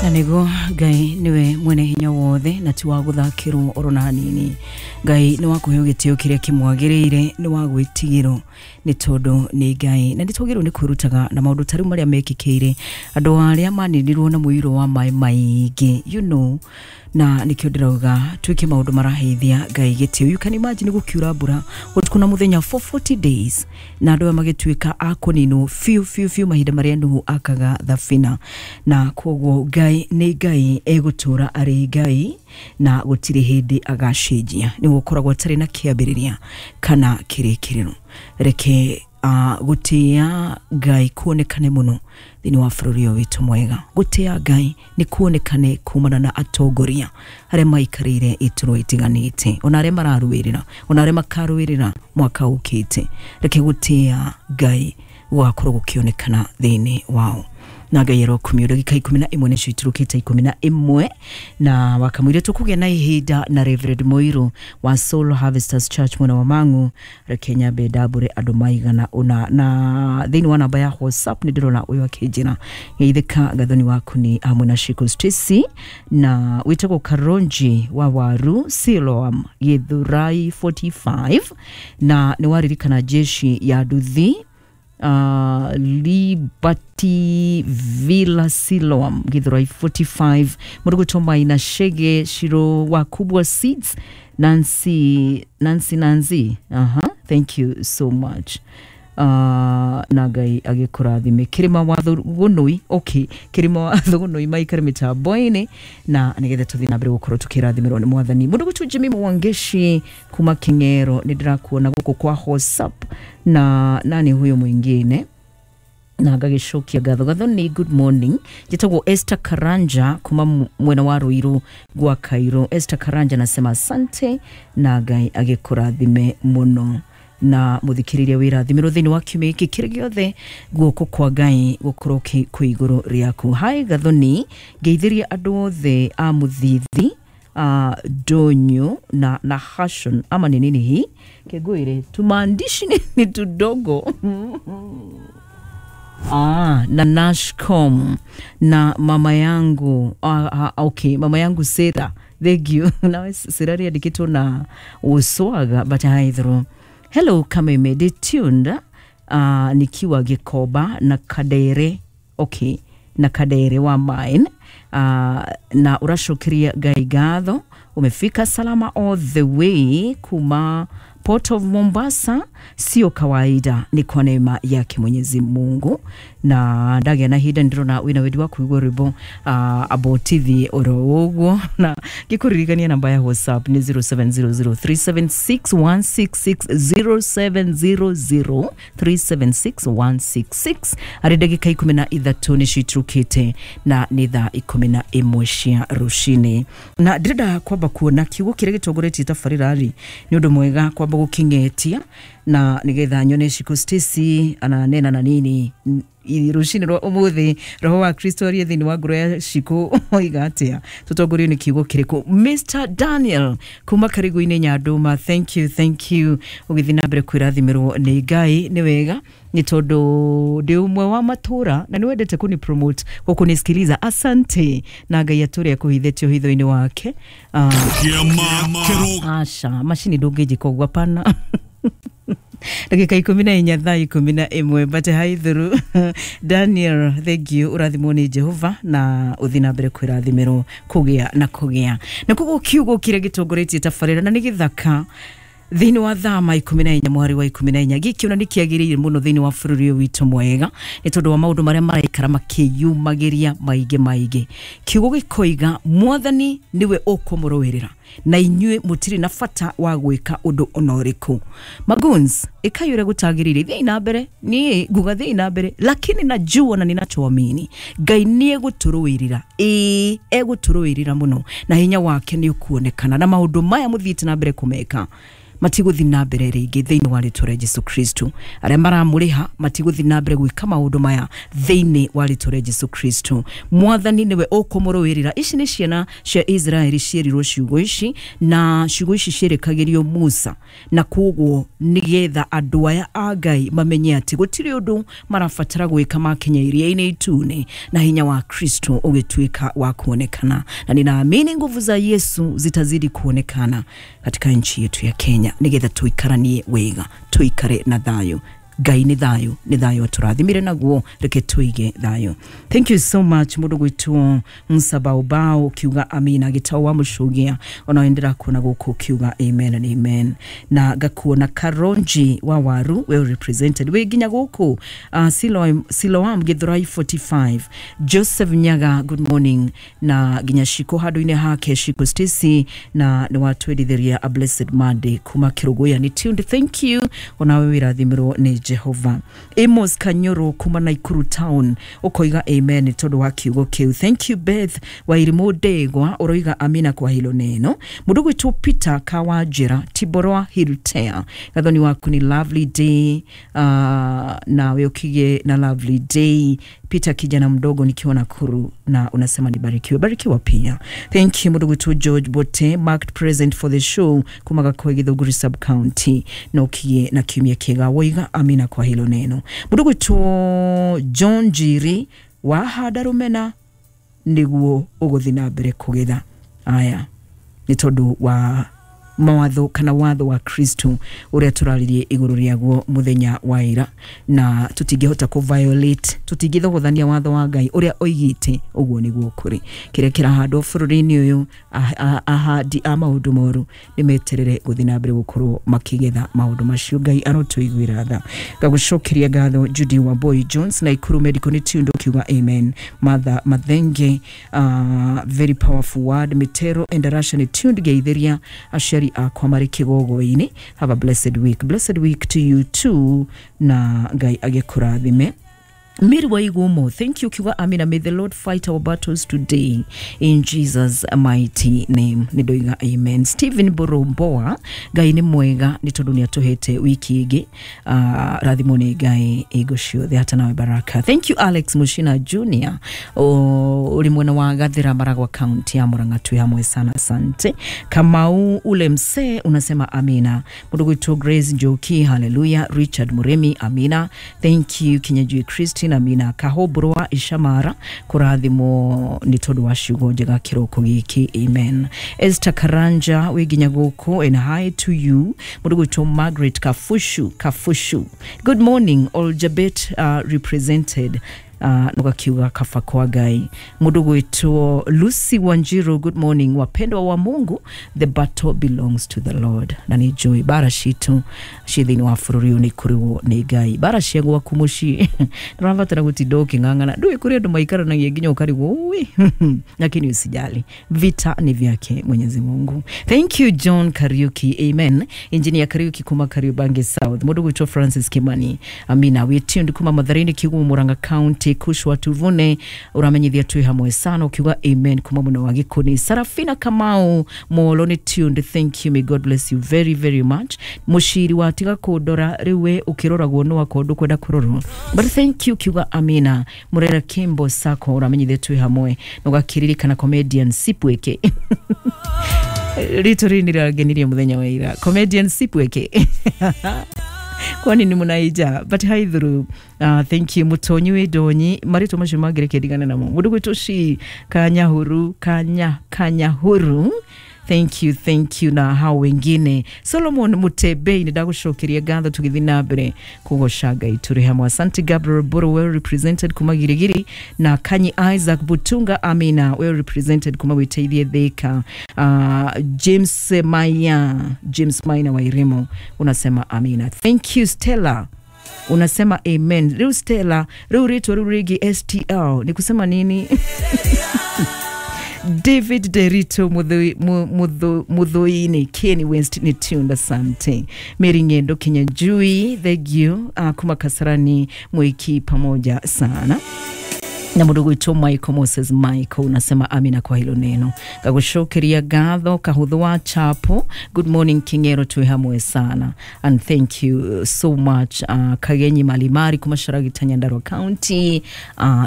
Na nĩguo Ngai nĩwe mwene hinya wothe na ti wa gũthakĩrwo oro na hanini. Ngai nĩ wa kũheo gĩtĩo kĩrĩa kĩmwagĩrĩire, nĩ wa gwĩtigĩrwo nĩ tondũ nĩ Ngai, na nĩ twagĩrĩirwo nĩ kwĩrutaga na maũndũ ta rĩu marĩa mekĩkĩire andũ arĩa maninirwo na mũiyũro wa maĩ maingĩ, na nĩkĩo ndĩrauga twĩke maũndũ maraheithia Ngai gĩtĩo. You can imagine gũkiura mbura ũtukũ na mũthenya for 40 days na andũ aya magĩtuĩka a kũninwo biũ biũ biũ mahinda marĩa Nuhu akaga thabina. Na koguo Ngai nĩ Ngai, egũtũra arĩ Ngai na gũtirĩ hĩndĩ agacenjia, nĩ gũkoragwo atarĩ na kĩambĩrĩria kana kĩrĩkĩrĩro. Reke gũtĩa Ngai kuonekane mũno thĩinĩ wa bũrũri ũyũ witũ mwega. Gũtĩa Ngai nĩ kuonekane kumana na atongoria arĩa maikarĩire iturwa itiganĩte, ona arĩa mararũĩrĩra, ona arĩa makarũĩrĩra mwaka ũkĩte. Reke gũtĩa Ngai gũgakorwo gũkĩonekana thĩinĩ wao. Na Ngai arokumio. Ndagĩka 11 nĩcio iturũkĩte 11, na wakamwire tũkũgĩa na ihinda na Reverend Muiru wa Soul Harvesters Church mwena wa Mang'u. Reke nyambe ndambũre andũ maigana ũna na thĩinĩ wa namba ya WhatsApp. Nĩ ndĩrona ũyũ akĩnjĩra, "Geithĩka Gathoni waku ni hamwe na Shiko Stacy na wĩtagwo Karonji wa Waru Siloam Githurai 45, na nĩ waririkana jeshi ya nduthi Liberty Villa Siloam Githurai 45, mũrũgũtwo Maina Shege Shiro wa Kubwa Seeds, Nancy Nancy Nancy. Thank you so much. Na Ngai agĩkũrathime. Kĩrĩma wa Thũgũnũi, okay, Kĩrĩma wa Thũgũnũi maikare mĩtambo-inĩ na nĩgetha tũthiĩ na mbere gũkorwo tũkĩrathimĩrwo nĩ Mwathani. Mũndũ gwĩtwo Jimmy Mwangeshi kuma King'ero, nĩ ndĩrakuona gũkũ kwa WhatsApp. Na nani huyo mwingine? Na ngagĩcokia ngatho. Gathoni, good morning, njĩtagwo Esther Karanja kuma mwena wa Ruiru gwa Kairo. Esther Karanja nasema asante na Ngai agĩkũrathime mũno. Na mũthikĩrĩria, wĩrathimĩrwo thĩinĩ wa kiumia gĩkĩ kĩrĩ gĩothe, guoko kwa Ngai gũkorwo kwĩ igũrũ rĩaku. Hi Gathoni, ngeithĩria andũ othe a Mũthithi Donyo na Hashon ama ni nini hii kegwire tumaandishi ni tudogo. Ah, na Nashcom na mama yangu, okay, mama yangu Sera, thank you. Nawe Sera riandikĩtwo na Uswaga, but haithro. Hello Kameme, they tuned nikiwa Gikoba na Kadere, okay, na Kadere wa mine, na ũracokeria Ngai ngatho umefika salama all the way kuma Port of Mombasa. Sio kawaida, ni kwa neema yake Mwenyezi Mungu. Na ndagĩa na ihinda, ndĩrona wĩna wendi wa kũigua rwĩmbo abotithi oro ũguo, na ngĩkũririkania namba ya WhatsApp nĩ 0700376166, 0700376166. Arĩ ndagĩka 13 nĩcio iturũkĩte na nĩ thaa 11 cia rũcinĩ, na ndĩrenda kwamba kuona kiugo kĩrĩa gĩtongoretie tabarĩra rĩ, nĩ ũndũ mwega kwamba gũkĩng'etia na nĩgetha nyone Shiko Stacy ananena na nini rũcinĩ rwa ũmũthĩ. Roho wa Kristo arie thĩinĩ wa ngoro ya Shiko, oiga atĩa? Tũtongorio nĩ kiugo kĩrĩkũ? Mr Daniel kuma Karigũ-inĩ Nyandũma, thank you, thank you. Ũgĩthiĩ na mbere kwĩrathimĩrwo nĩ Ngai. Nĩ wega nĩ tondũ ndĩ ũmwe wa matũra na nĩ wendete kũni promote gũkũnisikiliza. Asante na Ngai atũrĩa kũhithĩtio hitho-inĩ wake. Kĩama kĩro Aca, macini ndũngĩnjĩka ũguo, hapana. Ndagĩka 14 thaa 11, but haithuru. Daniel, thank you, ũrathimwo nĩ Jehova na ũthiĩ na mbere kwĩrathimĩrwo kũgĩa na kũgĩa. Na koguo kiugo kĩrĩa gĩtongoretie tabarĩra na nĩ gĩthaka thĩinĩ wa thama 14 mweri wa 14, gĩkĩ ona nĩ kĩagĩrĩire mũno thĩinĩ wa bũrũri ũyũ witũ mwega nĩ tondũ wa maũndũ marĩa maraikara makĩyumagĩria maingĩ maingĩ. Kiugo gĩkoiga, "Mwathani nĩwe ũkũmũrũĩrĩra na inyuĩ mũtirĩ na bata wa gwĩka ũndũ ona ũrĩkũ." Maguns, ĩkai ũrĩa gũtagĩrĩire, thiĩi na mbere. Niĩ nguga thiĩi na mbere, lakini najua na ninachoamini Ngai nĩ egũtũrũĩrĩra, ĩĩ, egũtũrũĩrĩra mũno na hinya wake nĩ ũkuonekana, na maũndũ maya mũthiĩte na mbere kũmeka Matigũthiĩ na mbere rĩngĩ thĩinĩ wa rĩtwa rĩa Jesu Kristo. Arĩa maramũrĩha matigũthiĩ na mbere gwĩka maũndũ maya thĩinĩ wa rĩtwa rĩa Jesu Kristo. Mwathani nĩwe ũkũmũrũĩrĩra. Ici nĩ ciana cia Israeli ciĩrirwo ciugo ici, na ciugo ici ciĩrĩkagĩrio Musa, na koguo nĩgetha andũ aya a Ngai mamenye atĩ gũtirĩ ũndũ marabatara gwĩka makinya iria-inĩ itune, na hinya wa Kristo ũgĩtuĩka wa kuonekana. Na ninaamini nguvu za Yesu zitazidi kuonekana katika nchi yetu ya Kenya, nigetha tuikaranie wega, tuikare na thayo. Ngai nĩ thayũ, nĩ thayũ atũrathimire naguo, reke tuige thayũ. Thank you so much mũndũ gwitwo Msabaubao ukiuga amina, gĩtau wa mũcũgia ona ndĩrakuona gũkũ ukiuga amen and amen, na ngakuona Karonji wa Waru well represented wĩ nginya gũkũ Siloam Githurai 45, Joseph Nyaga good morning, na nginya Shiko handũ-inĩ hake Shiko Stacy, na nĩ watwendithiria a blessed Monday kuma Kĩrũgũya nĩ tuned. Thank you, onawe wĩrathimĩrwo nĩ Jehova. Amos Kanyoro kuma Nakuru town ukoiga amen tondu wa kiugo kiu. Thank you Beth Wairimu Ndegwa uroiga amina kwa hilo neno. Mundu gwitwo Peter Kawajira Tiborwa Hiltea, gathoni waku ni lovely day, nawe ukige na lovely day. Peter kijana mdogo nikiwa Nakuru, na unasema nibarikiwe, barikiwa pia. Thank you mundu gwitwo George Bote marked present for the show kuma Gakoi Githunguri sub county, na ukigie na kiumia kiega woiga amina kwa hilo neno. Mundu gwitwo John Njiri wahanda rumena niguo uguthi na mbere kugetha. Aya ni tondu wa mawatho kana watho wa Kristo uria turaririe iguru riaguo muthenya wa ira, na tutingihota ku violate, tutingithogothania watho wa Ngai uria oigite uguo niguo kuri. Kiria kirahandwo bururi-ini uyu, ahandi a maundu moru nimeterere guthi na mbere gukorwo makigetha maundu macio. Ngai arotuiguira tha. Ngagucokeria ngatho Judy wa Boy Jones na Ikuru Medical ni tundu kiuga amen. Mother Mathenge, very powerful word. Mitero and Russia ni tundu geithiria aciari akwa marĩ kĩgogo-inĩ. Have a blessed week. Blessed week to you too, na Ngai agĩkũrathime. Mary Waigumo, thank you kiuga amina. May the Lord fight our battles today in Jesus mighty name. Nĩndoiga amen. Stephen Boromboa, Ngai nĩ mwega nĩ tondũ nĩ atũhete wiki ĩngĩ. Rathimwo nĩ Ngai ĩgo ciothe hata nawe baraka. Thank you Alex Mushina Junior, ũrĩ mwena wa Gathira Maragwa County ya Murang'a, twĩ hamwe sana, asante. Kamau ule msee unasema amina. Mũndũ gwitwo Grace Njoki, hallelujah. Richard Muremi, amina. Thank you Kinyajui Christine, amina. Kahoburwa Ishamara, kũrathimwo nĩ tondũ wa ciugo njega kĩroko gĩkĩ, amen. Esther Karanja wĩ nginya gũkũ, and hi to you. Mũndũ gwitwo Margaret Kafushu, good morning. Oljabet represented, nugakiuga kafa kwa Ngai. Mũndũ gwitwo Lucy Wanjiru, good morning. Wapendwa wa Mungu, the battle belongs to the Lord. Na nĩ njũĩ bara citũ ciĩ thĩinĩ wa bũrũri ũyũ nĩ ikũrĩwo nĩ Ngai. Bara cia gwaku mũciĩ ndũrabatara gũtinda ũkĩng'ang'ana, ndũĩ kũrĩ andũ maikaranagia nginya ũkarigwo ui lakini usijali, vita ni vyake Mwenyezi Mungu. Thank you John Kariuki, amen. Engineer Kariuki kuma Kariobangi South. Mũndũ gwitwo Francis Kimani, amina. We tuned kuma Matharini Kigumo Murang'a County. Kushwa Tuvune uramenyithia twi hamwe sana ukiuga amen kuma muno wa Gikuni. Sarafina Kamau Molo ni tuned, thank you, may God bless you very very much. Mushiri wa tiga kundora riu we ukiroragwo no akorwo ndukwenda kurorwo, but thank you kiuga amina. Murera Kimbo Sako uramenyithia twi hamwe nugakiririkana comedian Sipweke rito rĩrĩ nĩrĩrangenirie mũthenya wa ira, comedian Sipweke kwani ni munaija but hi through. Thank you Mutonyi wi Ndonyi, marĩtwa macio mangĩreke ndigane namo. Mũndũ gwĩtwo Shi Kanyahuru, Kanyahuru, thank you, thank you. Na hao wengine Solomon Mutebei, nĩndagũcokeria ngatho tũgĩthiĩ na mbere kũgoca Ngai tũrĩ hamwe. Asante Gabriel Boro, well represented kuma Girigiri, na Kanyi Isaac Butunga, amina, well represented kuma Wĩteithie Thika. James Maya, James Maina wa Irimo unasema amina. Thank you Stella, unasema amen. Rĩu Stella, rĩu rĩtwa rĩu rĩngĩ STL ni kusema nini? David Derito Muthuini, Kenny West ni tuned, asante. Mary Ngendo Kinyanjui, thank you. Kuma Kasarani Mwiki, pamoja sana. Na Na mũndũ gwitũ Michael Moses Michael unasema amina kwa hilo neno. Ngagũcokeria ngatho kahũthũ wa Chapo. Good morning King'ero, twĩ hamwe sana and thank you so much. Kagenyi Malimari kuma Sharagita, Nyandarua County,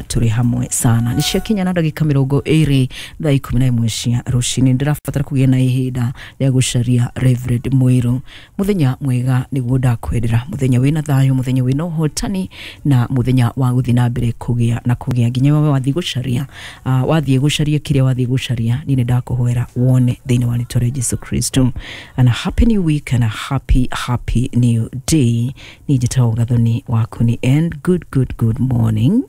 tũrĩ hamwe sana. Nĩ ciakinya na ndagĩka 20 thaa 11 cia rũcinĩ. Ndĩrabatara kũgĩa na ihinda rĩa gũcaria Reverend Mwiru. Mũthenya mwega nĩguo ndakwendera, mũthenya wĩna thayũ, mũthenya wĩna ũhotani na mũthenya wa gũthiĩ na mbere kũgĩa na kũgĩa nginya wewe wathiĩ gũcaria, wathiĩ gũcaria kĩrĩa wathiĩ gũcaria, niĩ nĩ ndakũhoera wone thĩinĩ wa rĩtwa rĩa Jesu Kristo. And a happy new week and a happy happy new day. Niĩ njĩtagwo Gathoni waku ni and good good good morning.